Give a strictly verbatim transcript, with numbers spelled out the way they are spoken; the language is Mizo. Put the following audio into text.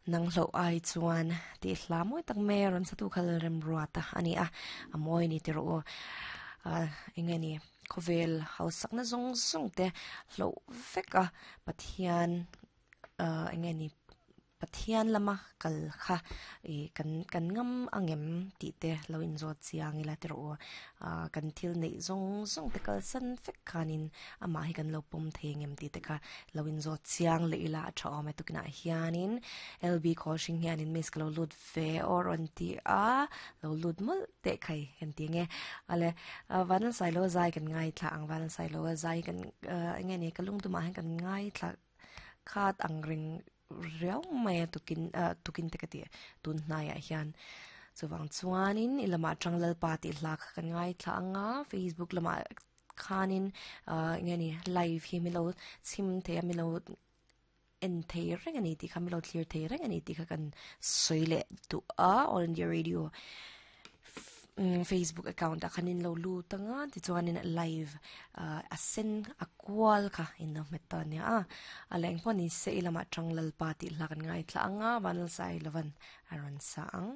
Nang hlo ai chuan ti hla mawi tak mai a rawn sa tu khal rem ruat a ani a a mawi ni ti rawh u ah eng nge ni khawvel hausakna zawng zawng te hloh vek a Pathian ah eng nge ni Pathian lama kal kha ih kan kan ngam angem tih te lo inzawt chiang ila ti rawh u ah kan thil neih zawng zawng te kalsan vek khanin amah hi kan lo pawm thei angem tih te kha lo inzawt chiang leh ila a tha awm e tukinah hianin L B khawlhring hianin miss ka lo lut ve aw rawn ti a lo lut mawlh teh khai kan ti ang e ale Vanlalsailoa zai kan ngaithla ang Vanlalsailoa zai kan ah eng nge ni ka lungtumah hian kan ngaithla khat ang reng riau mai a tukin ah tukin te ka tih tun hnaiah hian chuvang chuanin i lamah tang Lalpa tih hla kha kan ngaithla ang a Facebook lamah khanin ah eng nge ni live hi milo chhim thei a milo en thei reng a ni tih kha milo thlir thei reng a ni tih kha kan sawi leh duh a All India Radio Facebook account ah khanin lo lut anga tichuanin live ah a sen a kual kha in lo hmet ta ania a a leng pawh ni se i lamah tang Lalpa tih hla kan ngaithla anga Vanlalsailovan a rawn sa ang.